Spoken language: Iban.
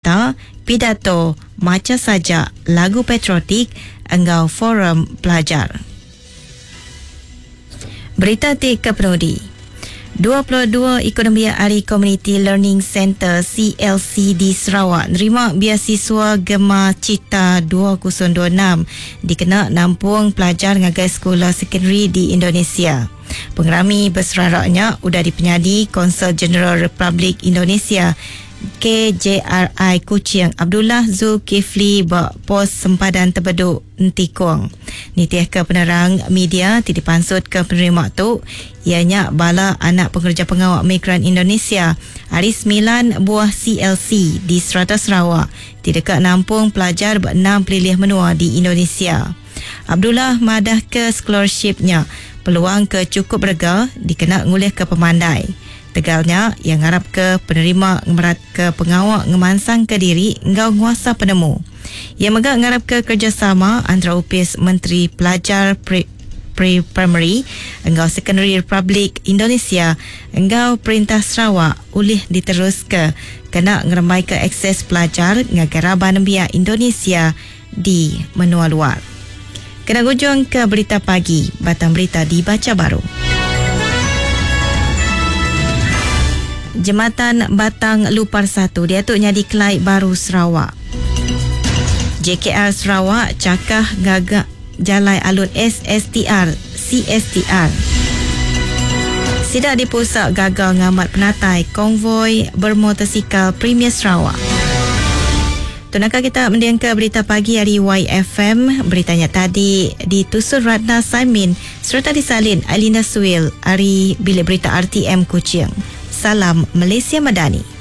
Berita, pidato, macha sajak, lagu patriotik enggau forum pelajar. Berita ti kepenudi. 22 iku nembiak ari Community Learning Centre, CLC, di Sarawak nerima biasiswa Gema Cita 2026 dikena nampung pelajar ngagai sekula sekondari di Indonesia. Pengerami beserara nya udah dipenyadi Konsul Jeneral Republik Indonesia, KJRI, Kuching Abdullah Zulkifli ba Pos Sempadan Tebedu Entikong. Nitihka penerang media ti dipansutka penerima tu iya nya bala anak pengereja pengawa migran Indonesia ari semilan buah CLC di serata Sarawak ti deka nampung pelajar ba enam pelilih menua di Indonesia. Abdullah madahka scholarship nya peluang ke chukup berega dikena ngulihka pemandai. Tegal nya, iya ngarapka penerima ngemeratka pengawa ngemansangka diri enggau nguasa penemu. Iya mega ngarapka kerejasama antara Opis Menteri Pelajar Pre-Primary enggau Sekondari Republik Indonesia enggau Perintah Sarawak ulih diteruska kena ngerembaika akses pelajar ngagai raban nembiak Indonesia di menua luar. Kena ngujungka berita pagi, batang berita dibacha baru. Jematan Batang Lupar satu diatu nyadi kelai baru Sarawak. JKR Sarawak chakah ngaga jalai alun SSTR, CSTR. Sida dipusa gaga ngamat penatai konvoi bermotosikal Premier Sarawak. Tu naka kita mendingka berita pagi ari YFM. Berita nya tadi ditusun Ratna Saimin sereta disalin Ailinda Suil ari Bilik Berita RTM Kuching. Salam Malaysia Madani.